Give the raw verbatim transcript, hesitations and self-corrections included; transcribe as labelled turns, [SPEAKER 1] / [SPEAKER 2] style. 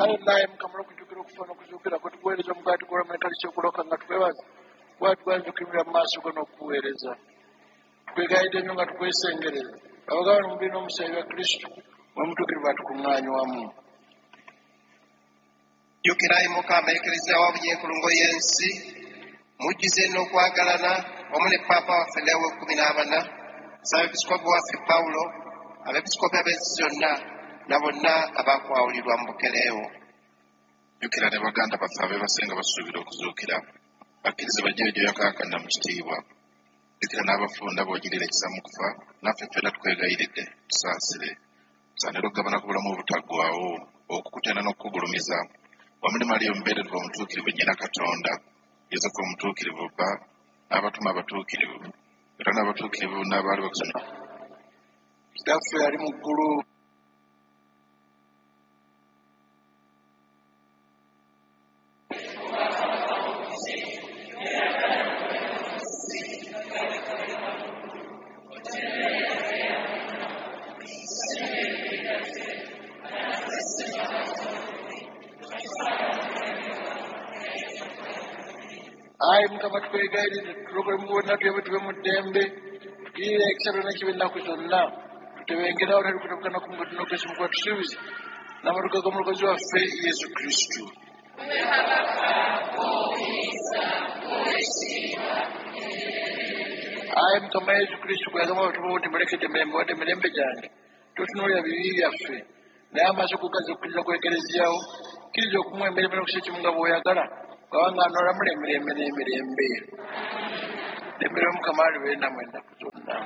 [SPEAKER 1] Aye Mukama, olw'okujjukira okufa n'okuzuukira kwe, tukuweereza omugaati gw'obulamu n'ekaliso okuloka nga tukwebaza, kuba tugwanyiza okuyimirira mu maaso go n'okukuweereza. Tukwegayidde nnyo nga tukwesengereza, abagabana omubiri n'omusaayi bya Kristo, mwe mutuukirivu atukuŋŋaanye wamu.
[SPEAKER 2] Jjukira ayi Mukama Ekereziya wa bunyenkulungo y'ensi, mujjuze n'okwagalana wamu ne Paapa waffe Lewo ekkumi n'abana, Ssaabepisikoopi waffe Pawulo, abepisikoopi ab'ensi zonna na bonna abakwawulirwa mu bukereewo.
[SPEAKER 3] Jjukira ne baganda baffe abeebase nga basuubira okuzuukira, bakkirize bajjeyo gy'oyakaayakanira mu kitiibwa. Jjukira n'abafunda b'ogirira ekisa mu kufa, naffe ffenna tukwegayiridde tusaasire, tusaanire okugabana ku bulamu obutaggwaawo, okukutenda n'okukugulumiza wamu ne Mariya omubeerevu omutuukirivu nnyina Katonda, Yosefu omutuukirivu bba, n'abatume abatuukirivu, era n'abatuukirivu n'abaali bakusanyuka.
[SPEAKER 1] Kitaffe ali mu ggulu. Ayi Mukama, tukwegayiridde tulokole mu bonna, tuyambe tube mu ddembe, tugirire ekisa byonna kiba ennaku zonna, tutebengerawo tali kutabukana ku mugato n'okwesu mukuba tusuubize n'amatuka g'omulokozi waffe Yesu Kristo. Ayi Mukama Yesu Kristo, gwe yagamba abatume bo nti mulekedde emirembe, wadde emirembe gyange, totunuulira bibi byaffe, naye amaaso go gaze okukkiriza kwa Ekereziyawo, kkiriza okumuwa emirembe n'okussa ekimu nga bw'oyagala, kubanga anoolamula emirembe n'emirembe. Emirembe Mukama alibeere nammwe ennaku zonna.